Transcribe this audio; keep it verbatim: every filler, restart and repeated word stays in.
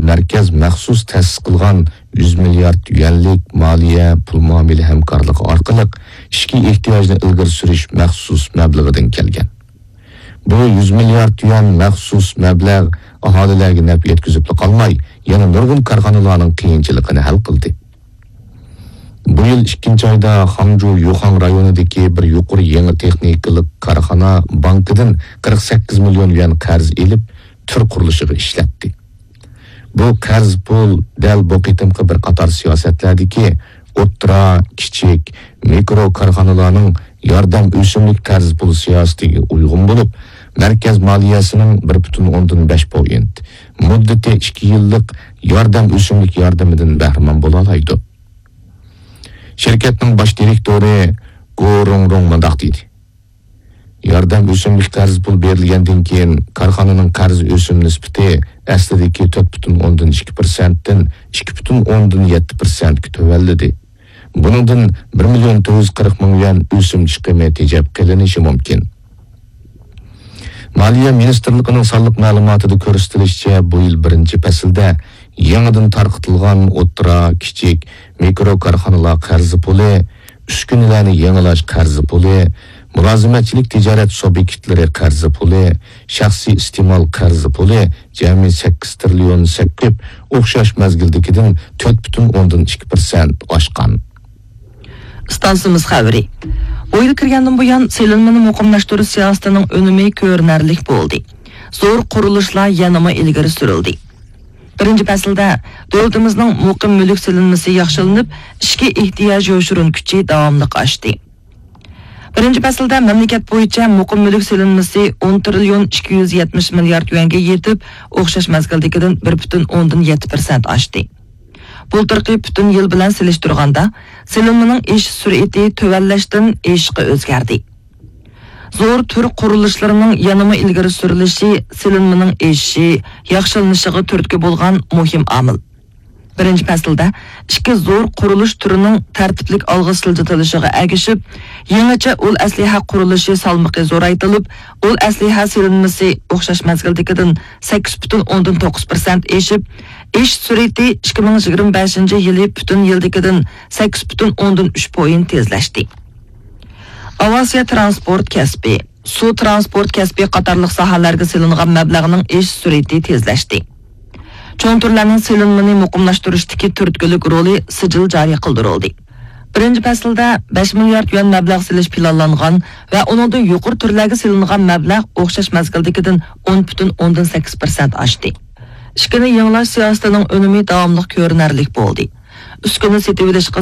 مەركەز مەخسۇس تەسىس قىلغان يۈز مىليارد يۈەنلىك مالىيە پۇل مۇئامىلە ھەمكارلىقى ئارقىلىق ئىچكى ئېھتىياجنى ئىلگىرى سۈرۈش مەخسۇس مەبلىغىدىن كەلگەن. بۇ يۈز مىليارد يۈەن مەخسۇس مەبلەغ ئاھالىلەرگە نەپ يەتكۈزۈپلا قالماي، يەنە نۇرغۇن كارخانىلارنىڭ قىيىنچىلىقىنى ھەل قىلدى. بۇ يىل ئىككىنچى ئايدا خاڭجۇ يۇخاڭ رايونىدىكى بىر يۇقىرى يېڭى تېخنىكىلىق كارخانا بانكىدىن قىرىق سەككىز مىليون يۈەن قەرز ئېلىپ، تۈر قۇرۇلۇشىغا ئىشلەتتى. بۇ قەرز پۇل دەل بۇ قېتىمقى بىر قاتار سىياسەتلەردىكى ئوتتۇرا، كىچىك، مىكرو كارخانىلارنىڭ ياردەم ئۆسۈملۈك قەرز پۇل سىياسىتىگە ئۇيغۇن بولۇپ، مەركەز مالىيەسىنىڭ بىر پۈتۈن ئوندىن بەش پوينت، مۇددىتى ئىككى يىللىق ياردەم ئۆسۈملۈك ياردىمىدىن بەھرىمەن بولالايدۇ. شىركەتنىڭ باش دىرېكتورى گو رۇڭرۇڭ مۇنداق دېدى: ياردەم ئۆسۈملۈك قەرز پۇل بېرىلگەندىن كېيىن، كارخانىنىڭ قەرز ئۆسۈم نىسبىتى ئەسلىدىكى تۆت پۈتۈن ئوندىن ئىككى پىرسەنتتىن ئىككى پۈتۈن ئوندىن يەتتە پىرسەنتكە تۆۋەنلىدى. بۇنىڭدىن بىر مىليون تۆت يۈز قىرىق مىڭ يۈەن ئۆسۈم چىقىمى تېجەپ قېلىنىشى مۇمكىن. مالىيە مىنىستىرلىقىنىڭ سانلىق مەلۇماتىدا كۆرسىتىلىشىچە، بۇ يىل بىرىنچى پەسىلدە يېڭىدىن تارقىتىلغان ئوتتۇرا، كىچىك، مىكرو كارخانىلار قەرزى پۇلى، ئۈسكۈنىلەرنى يېڭىلاش قەرزى پۇلى، مۇلازىمەتچىلىك تىجارەت سۇبيېكتلىرى قەرزى پۇلى، شەخسىي ئىستېمال قەرزى پۇلى جەمئىي سەككىز تىرىليون سەككىپ، ئوخشاش مەزگىلدىكىدىن تۆت پۈتۈن ئوندىن ئىككى پىرسەنت ئاشقان. ئىستانسىمىز خەۋىرى. بۇ يىل كىرگەندىن بۇيان، سېلىنمىنى مۇقىملاشتۇرۇش سىياسىتىنىڭ ئۈنۈمى كۆرۈنەرلىك بولدى. زور قۇرۇلۇشلار يەنىمۇ ئىلگىرى سۈرۈلدى. بىرىنچى پەسىلدە، دۆلىتىمىزنىڭ مۇقىم مۈلۈك سېلىنمىسى ياخشىلىنىپ، ئىچكى ئېھتىياج يوشۇرۇن كۈچى داۋاملىق ئاشتى. بىرىنچى پەسىلدە مەملىكەت بويىچە مۇقىم مۈلۈك سېلىنمىسى ئون تىرىليون ئىككى يۈز يەتمىش مىليارد يۈەنگە يېتىپ، ئوخشاش مەزگىلدىكىدىن بىر پۈتۈن ئوندىن يەتتە پىرسەنت ئاشتى. بۇلتۇرقى پۈتۈن يىل بىلەن سېلىشتۇرغاندا، سېلىنمىنىڭ ئېشىش سۈرئىتى تۆۋەنلەشتىن ئېشىشقا ئۆزگەردى. زور تۈر قۇرۇلۇشلىرىنىڭ يەنىمۇ ئىلگىرى سۈرۈلۈشى سېلىنمىنىڭ ئېشىشى، ياخشىلىنىشىغا تۈرتكە بولغان مۇھىم ئامىل. بىرىنچى پەسىلدە ئىككى زور قۇرۇلۇش تۈرىنىڭ تەرتىپلىك ئالغا سىلجىتىلىشىغا ئەگىشىپ، يېڭىچە ئۇل ئەسلىھە قۇرۇلۇشى سالمىقى زورايتىلىپ، ئۇل ئەسلىھە سېلىنمىسى ئوخشاش مەزگىلدىكىدىن سەككىز پۈتۈن ئوندىن توققۇز پىرسەنت ئېشىپ، ئېشىش سۈرئىتى ئىككى مىڭ يىگىرمە بەشىنچى يىلى پۈتۈن يىلدىكىدىن سەككىز پۈتۈن ئوندىن ئۈچ پوينت تېزلەشتى. ئاۋىئاتسىيە تىرانسپورت كەسپى، سۇ تىرانسپورت كەسپى قاتارلىق ساھەلەرگە سېلىنغان مەبلەغنىڭ ئېشىش سۈرئىتى تېزلەشتى. چوڭ تۈرلەرنىڭ سېلىنمىنى مۇقىملاشتۇرۇشتىكى تۈرتكىلىك رولى سىجىل جارى قىلدۇرۇلدى. بىرىنچى پەسىلدە بەش مىليارد يۈەن مەبلەغ سېلىش پىلانلانغان ۋە ئۇنىڭدىن يۇقىرى تۈرلەرگە سېلىنغان مەبلەغ ئوخشاش مەزگىلدىكىدىن ئون پۈتۈن ئوندىن سەككىز پىرسەنت ئاشتى. ئىشىكىنى يېڭىلاش سىياسىتىنىڭ ئۈنۈمى داۋاملىق كۆرۈنەرلىك بولدى. ئۈسكۈنە سېتىۋېلىشقا